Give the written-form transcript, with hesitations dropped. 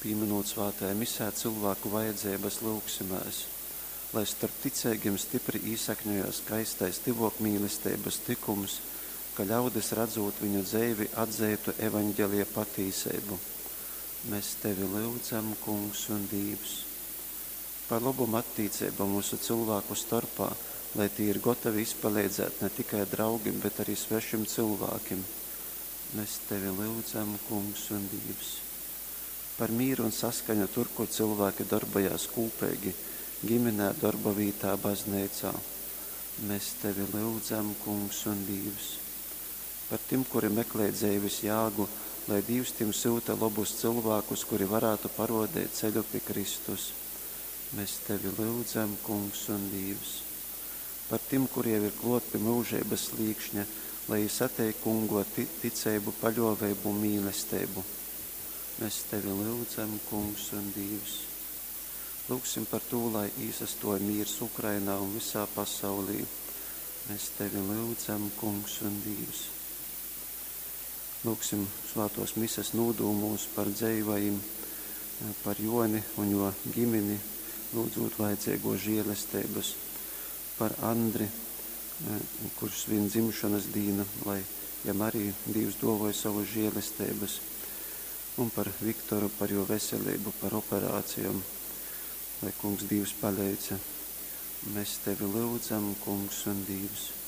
Pīmynūt svātajā Misē cylvāku vajadzeibas, lyugsimēs, lai storp ticeigim stipri īsakņojās skaistais tyvōkmīlesteibas tykums, ka ļaudis, radzūt viņu dzeivi, atzeitu Evangelija patīseibu. Mes Tevi lyudzam, Kungs un Dīvs. Par lobom attīceibom vysu cylvāku storpā, lai tī ir gotovi izpaleidzēt ne tikai draugim, bet ari svešim cylvākim. Mes Tevi lyudzam, Kungs un Dīvs. Par mīru un saskaņu tur, kur cylvāki dorbojās kūpeigi, giminē, dorba vītā, bazneicā. Mes Tevi lyudzam, Kungs un Dīvs. Par tim, kuri meklej dzeivis jāgu, lai Dīvs tim syuta lobus cylvākus, kuri varātu paruodeit ceļu pi Kristus. Mes Tevi lyudzam, Kungs un Dīvs. Par tim, kuri jau ir kluot pi myužeibys slīkšņa, lai jī sateik Kungu ar ticeibu, paļuoveibu un mīlesteibu. Mes Tevi lyudzam, Kungs un Dīvs. Lyugsim par tū, lai īsastuoj mīrs Ukrainā un vysā pasaulī. Mes Tevi lyudzam, Kungs un Dīvs. Lyugsim svātuos Mises nūdūmūs par dzeivajim, par Juoni un juo gimini, lyudzūt vajadzeiguos žielesteibys, par Andri, kurš svin dzimšonys dīnu, lai jam ari Dīvs duovoj sovys žielesteibys, un par Viktoru, par juo veseleibu, par operacijom, lai Kungs Dīvs paleidz. Mes Tevi lyudzam, Kungs un Dīvs.